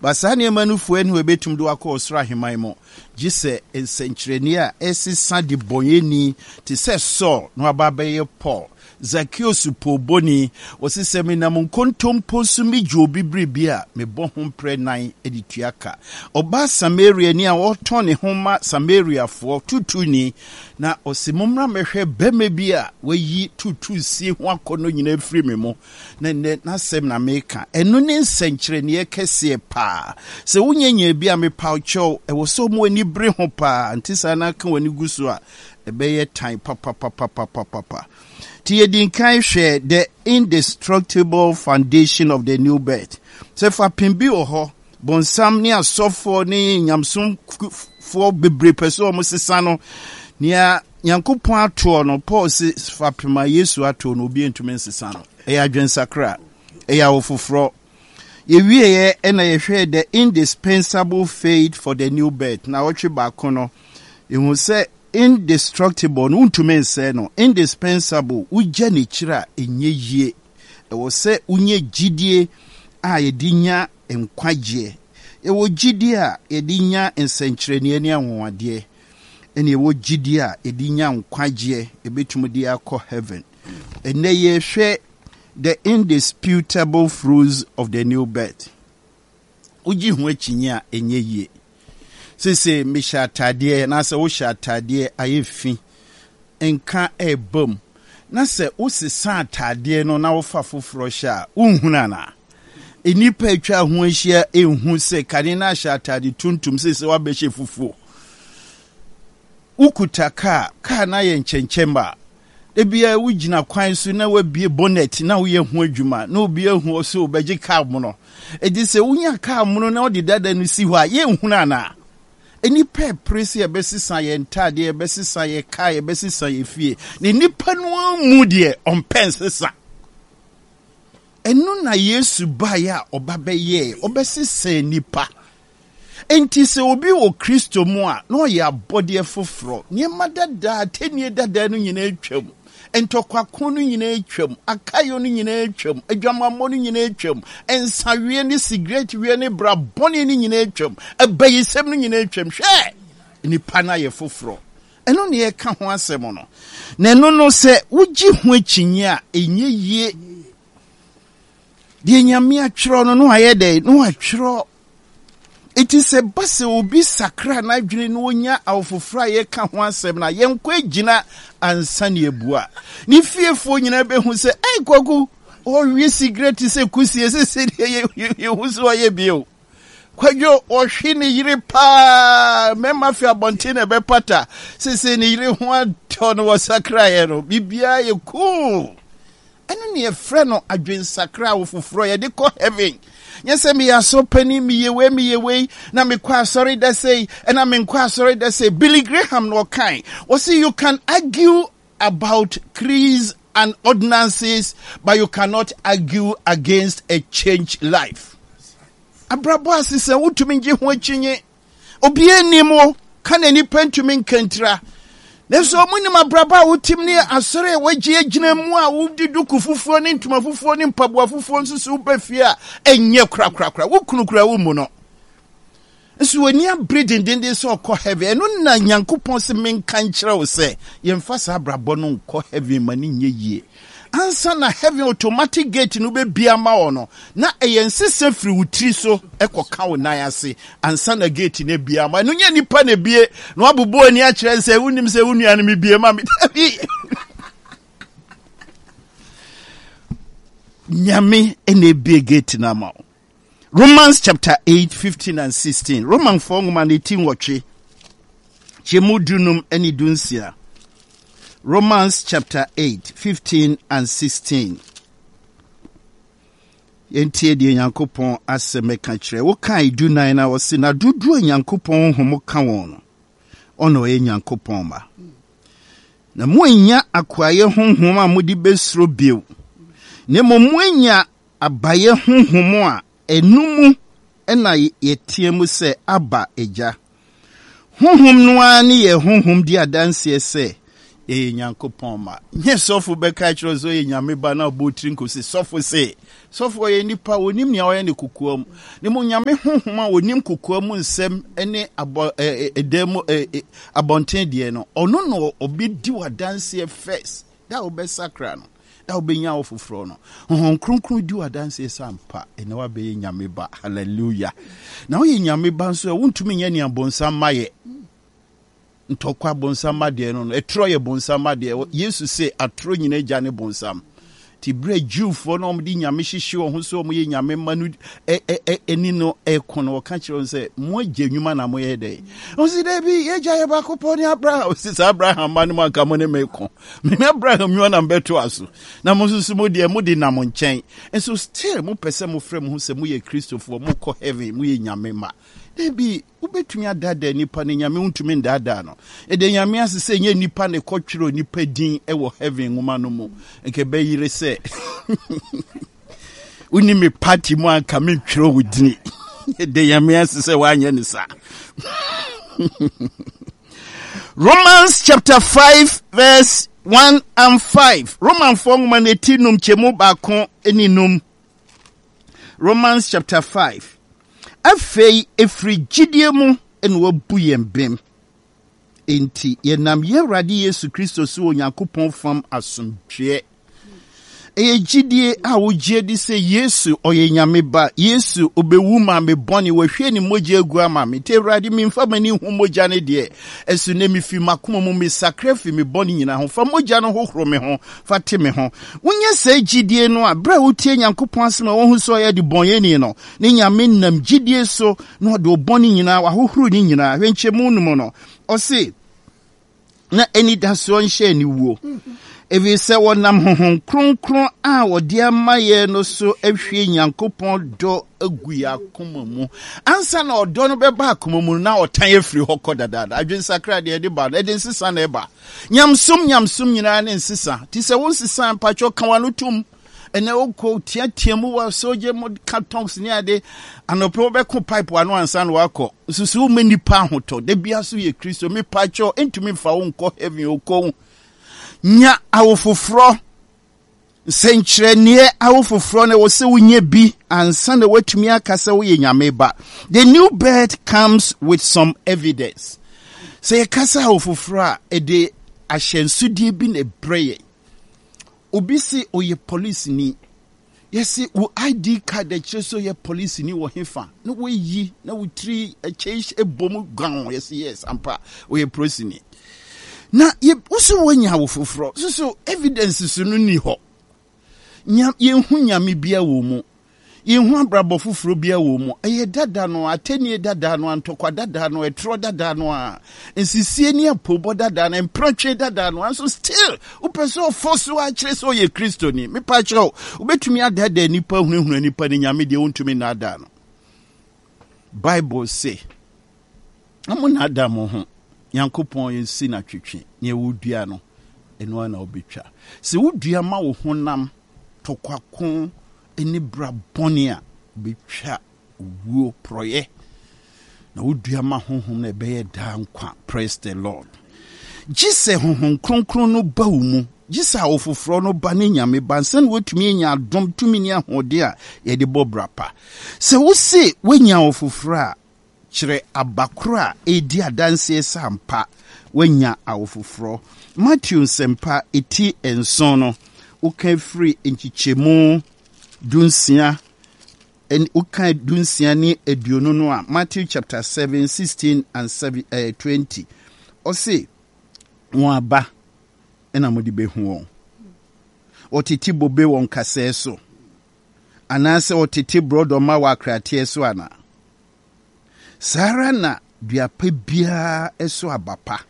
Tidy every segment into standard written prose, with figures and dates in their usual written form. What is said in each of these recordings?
But saa nneɛma no fua nni hɔ a ɛbɛtumi de wo akɔ ɔsoro ahemman mu, gye sɛ nsɛnkyerɛnneɛ a ɛsesa debɔneyɛni te sɛ Saul na waba abɛyɛ Paul. Zakeus poobɔni, ɔse sɛ menam nkontompo so megye obi biribi a, mebɔ ho mprɛ nan de tua ka. Ɔbaa Samariani a ɔretɔn ne ho ma Samariafoɔ, tuutuuni, na ɔse mommra mmɛhwɛ barima bi a wayi tuutuusie ho akɔnnɔ nyinaa afiri me mu. Na nnɛ n'asɛm na meka. Ɛno ne nsɛnkyerɛnneɛ kɛseɛ paa. Sɛ wonya nyaa bi a, mepaw kyɛw, ɛwɔ sɛ wɔn ani bere ho paa. Nte saa na aka w'ani gu so a, ɛbɛyɛ tan papapapapapapa. Nti yɛdi nkan hwɛ the indestructible foundation of the new birth. Sɛ fapem bi wɔ hɔ, bonsam ne asɔfoɔ ne nyamesomfoɔ bebree pɛ sɛ wɔn sesa no. Nea Nyankopɔn atoɔ no, Paul se fapem a Yesu atoɔ no, obi ntumi nsesa no. Ɛyɛ adwensakra, ɛyɛ awofoforɔ. Yɛwieɛ ɛna yɛhwɛɛ the indispensable faith for the new birth. Na ɔtwe baako no, yɛhu sɛ indestructible no, wontumi nsɛe no. Indispensable, wogya n'akyiri a, ɛnyɛ yie. Ɛwɔ sɛ wonya gyidie a yɛde nya nkwagyeɛ. Yɛwɔ gyidie a yɛde nya nsɛnkyerɛnneɛ ne anwanwadeɛ. Ɛna yɛwɔ gyidie a yɛde nya nkwagyeɛ, yɛbɛtumi de akɔ heaven. Ɛnnɛ yɛrehwɛ the indisputable fruits of the new birth. Wogye ho akyinnye a, ɛnyɛ yie. Seesei mehyɛ ataadeɛ anaasɛ wohyɛ ataadeɛ ayɛ fi, nka ɛreba mu, na sɛ wosesa ataadeɛ no na wofa foforɔ hyɛ a, wonhunu anaa? Nnipa atwa ho ahyia nhu sɛ kane no ahyɛ ataade tuntum, seesei woabɛhyɛ fufuo. Wokuta kaa, kaa no ayɛ nkyɛnkyɛmma a, da biara wogyina kwan so na woabue bonnet na woyɛ ho adwuma na obi ahu wo sɛ wobɛgye kaa mono. Enti sɛ wonya kaa mono na wode dada no si hɔ a, yɛnhunu anaa? Nnipa repere sɛ yɛbɛsesa yɛn ntaadeɛ, yɛbɛsesa yɛn kaa, yɛbɛsesa yɛn fie. Na nnipa no ara mu deɛ, ɔmpɛ nsesa. Ɛno na Yesu baeɛ a ɔba bɛyɛɛ, ɔbɛsesaa nnipa. Enti sɛ obi wɔ Kristo mu a, na ɔyɛ abɔdeɛ foforɔ. Nneɛma dadaa, atɛnnie dadaa no nyinaa atwam. Ntɔkwako no nyinaa atwam. Akayɔ no nyinaa atwam. Adwamammɔ no nyinaa atwam. Nsaweɛ ne sigaretweɛ ne bra bɔne no nyinaa atwam. Abayisɛm no nyinaa atwam. Hwɛ! Nnipa no ayɛ foforɔ. Ɛno na yɛreka ho asɛm no. Na ɛno no, sɛ wogye ho akyinnye a, ɛnyɛ yie. Deɛ Nyame atwerɛ no, na wayɛ dɛn? Na watwerɛ. Enti sɛ ɛba sɛ obi sakra n'adwene na onya awofoforɔ a yɛka ho asɛm no a, yɛnkɔ agyina ansa na yɛabua. Ne fiefoɔ nyinaa bɛhu sɛ, Ei, Kwaku, ɔwe sigaret sɛ kusie, sese deɛ yɛhu sɛ ɔyɛ bio. Kwadwo, ɔhwe ne yere paa, mmarima fi abɔnten na ɛbɛpata, sese ne yere ho atɔ no, wɔsakraeɛ no, biribiara yɛ cool. Ɛno ne yɛfrɛ no adwensakra awo foforɔ yɛde kɔ heaven. Nyɛ sɛ meyɛ asɔr panin, meyɛ wei, meyɛ wei, na mekɔ asɔre da sei, ɛna menkɔ asɔre da sei. Billy Graham na ɔkae, ɔse you can argue about creeds and ordinances, but you cannot argue against a changed life. Abrabɔ asesa wotumi ngye ho akyinnye. Obiara nnim wo, ka na nnipa ntumi nka ntira. Nanso wɔn nim abrabɔ a wotim ne asɔre a wɔagye agyina mu a wode duku fufuo ne ntoma fufuo ne mpaboa fufuo nso so woba fie a ɛnyɛ korakorakora. Wo kunu kura wo mu no. Nso w'ani abere dendenden sɛ ɔkɔ heaven. Ɛno na Nyankopɔn se menka nkyerɛ wo sɛ yɛmfa saa abrabɔ no nkɔ heaven ma no nyɛ yie. Ansa na heaven automatic gate no bɛbue ama wo no, na ɛyɛ nsesa firi wo tiri so kɔka wo nan ase ansa na gate no abue ama. Ɛno nyɛ nipa na ebue na wabobɔ ani akyerɛ sɛ wonim sɛ wo nua no mebue ma me. Dabi. Nyame na ebue gate no ama wo. Romans chapter 8, 15 and 16. Romanfoɔ nwoma no ti nwɔtwe, kyɛmu dunum ne dunsia. Romans chapter 8, 15 and 16. Yɛntie deɛ Nyankopɔn asɛm ɛka kyerɛ. Wokae dunan na ɔse, na dodoɔ a Nyankopɔn honhom ka wɔn no, ɔna ɔyɛ Nyankopɔn ma. Na moannya akoayɛ honhom a mode bɛsuro bio, na mmom moanya Abayɛ honhom a ɛno mu na yɛteɛ mu sɛ, Abba, Agya. Honhom no ara ne yɛn honhom di adanseɛ sɛ Yɛyɛ Nyankopɔn mma. Nyɛ sɔfo bɛka akyerɛ wo sɛ ɔyɛ Nyame ba na ɔbɔ tiri nkosi. Sɔfo se, sɔfo ɔyɛ nipa, onim nea ɔyɛ ne kokoa mu. Ne mu Nyame honhom a onim kokoa mu nsɛm ne abɔ ɛdan mu abɔnten deɛ no, ɔno na ɔbɛdi w'adanseɛ first. Da a wobɛsakra no, da a wobɛnya wo foforɔ no, Honhom Kronkron di w'adanseɛ sɛ ampa, ɛnɛ woabɛyɛ Nyame ba. Hallelujah. Na woyɛ Nyame ba nso a, wontumi nyɛ nea bonsam ma yɛ. Ntɔkwa bonsam adeɛ no no, ɛtorɔ yɛ bonsam adeɛ. Yesu se atorɔ nyina agya ne bonsam. Nti berɛ a Jewfoɔ no a wɔde nyame hyehye wɔn ho sɛ wɔyɛ nyame mma no ɛni no ɛko no, wɔka kyerɛ wɔn sɛ mo agya nnwuma na moyɛ dɛn? Wɔn si daabi, yɛagya yɛ baako pɔ ne Abraham. Wɔsi sɛ Abraham mma no mu anka mo ne me ko. Me ne Abraham nnwuma na mbɛto aso. Na mo nso so mo deɛ mo de nam nkyɛn. Nso still mopɛ sɛ mofrɛ mo ho sɛ moyɛ Kristofoɔ, mokɔ heaven, moyɛ nyame mma. Daabi, Wobɛtumi adaadaa nnipa na Nyame wontumi ndaadaa no. Yɛda Nyame ase sɛ ɛnyɛ nnipa na ɛkɔtwerɛ nnipa din wɔ heaven nwoma no mu. Nka ɛbɛyere sɛ wonni me party mu anka mentwerɛ wo dini. Yɛda Nyame ase sɛ woanyɛ ne saa. Romans chapter 5 verse 1 and 5. Romanfoɔ nwoma no eti num kyɛmu baako ne num. Romans chapter 5. Afei ɛfiri gyidie mu na wabu yɛn bem. Enti yɛnam yɛn Awurade Yesu Kristo so wɔ Onyankopɔn fam asomdwoeɛ. Ɛyɛ gyidie a wogye di sɛ Yesu ɔyɛ Nyame ba. Yesu ɔbɛwu maa me bɔne, wahwie ne mogya agu ama me. Nti Awurade memfa m'ani nhu mogya no deɛ, ɛso nnɛ mefi m'akoma mu mesakra fi me bɔne nyinaa ho. Fa mogya no hohoro me ho, fa te me ho. Wonya saa gyidie no a, berɛ a wotie Nyankopɔn asɛm a wohu sɛ ɔyɛ adebɔnyɛni no, ne Nyame nam gyidie so na ɔde wo bɔne nyinaa, wahohoro ne nyinaa. Hwɛ nkyɛmu no mu no, ɔse, na anidasoɔ nhyɛ aniwuo, ɛfiri sɛ wɔnam Honhom Kronkron a wɔde ama yɛn no so ahwie Nyankopɔn dɔ agu yɛn akoma mu. Ansa na ɔdɔ no bɛba akoma mu no, na ɔtan afiri hɔ kɔ dadaada. Adwensakra deɛ ɛde ba no, ɛde nsesa na ɛba. Nyamesom nyamesom nyinaa ne nsesa. Ti sɛ wo nsesa mpakyɛw ka w'ano tom. Ɛnɛ wokɔ teatea mu wɔ sogye mu ka tongues ne ade. Anɔpɛ wobɛko pipe ano ansa na wakɔ. Nsusu wo ma nipa ahotɔ. Da bia so yɛ Kristo. Me pakyɛw ntumi mfa wo nkɔ heaven okɔ. Nya awofoforɔ. Nsɛnkyerɛnneɛ awofoforɔ no ɛwɔ sɛ wonya bi ansa na woatumi aka sɛ woyɛ Nyame ba. The new birth comes with some evidence. Sɛ yɛka sɛ awofoforɔ a, ɛde ahyɛnsodeɛ bi na ɛbrɛ yɛn. Obi se ɔyɛ polisini. Yɛse wo ID card ɛkyerɛ sɛ ɔyɛ polisini wɔ hefa na woayi na wo tiri ɛkyɛ ɛbɔ mu guan yɛse yes ampa ɔyɛ polisini. Na yɛ woso woanya wo foforɔ so so evidence so no ni hɔ. Nya yɛnhu nyame bia wɔ mu. Yɛnhu abrabɔ foforɔ biara wɔ mu. Ɛyɛ dada no, atɛnnie dada no, ntɔkwa dada no, ɛtorɔ dada no a, nsisie ne apoobɔ dada no, mpratwe dada no, nso still wopɛ sɛ ɔfɔ so akyerɛ sɛ ɔyɛ Kristoni. Mepa kyerɛ wo, wobɛtumi adaadaa nnipa, ahunahuna nnipa ne Nyame deɛ wontumi nnaadaa no. Bible se, na mo naadaa mo ho, Nyankopɔn nsi no atwetwe, nea wodua no, ɛno ara na wobɛtwa. Sɛ wodua ma wo honam tɔkwako ne bra bɔne a, wobɛtwa owuo, porɔeɛ, na wodua ma honhom no ɛbɛyɛ daa nkwa. Praise the Lord. Gye sɛ Honhom Kronkron no ba wo mu, gye sɛ awofoforɔ no ba ne Nyame ba ansa na woatumi anya adom, tumi ne ahoɔden a yɛde bɔ bra pa. Sɛ wose woanya awofoforɔ a, Kyerɛ aba koro a ɛredi adanseɛ sɛ ampa woanya awofoforɔ. Mateo Nsɛmpa ti nson no, woka firi nkyekyɛmu dunsia, woka dunsia ne aduonu no a, Matthew chapter 7, 16 and 7, eh, 20. Ɔse, wɔn aba na mode bɛhu wɔn. Wɔtete bobe wɔ nkasɛɛ so, anaasɛ wɔtete borɔdɔma wɔ akrateɛ so anaa? Saa ara na dua pa biara so aba pa.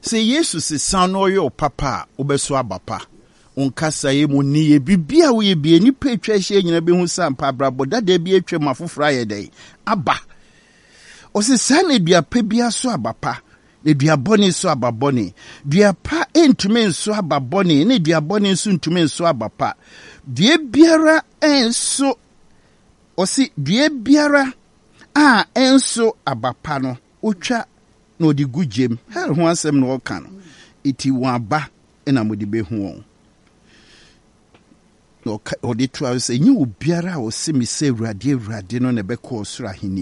Sɛ Yesu sesa na ɔyɛ wo papa a, wobɛso aba pa. Wo nkasaeɛ mu, nneyɛɛ, biribiara a woyɛ biara, nnipa a atwa ahyia nyinaa bɛhu sɛ ampa abrabɔ dada bi atwam ma foforɔ ayɛ dɛn? Aba. Ɔse saa na dua pa biara so aba pa, na dua bɔne so aba bɔne. Dua pa ntumi nso aba bɔne, na dua bɔne nso ntumi nso aba pa. Dua biara nso Ɔse dua biara a ɛnso aba pa no, otwa na ɔde gu gyam. Hell ho asɛm na ɔka no. Eti wɔn aba na mode bɛhu wɔn. Na ɔde toa so sɛ, Ɛnyɛ obiara a ɔse me sɛ, 'Awurade, Awurade' no na ɛbɛkɔ ɔsoro ahennie.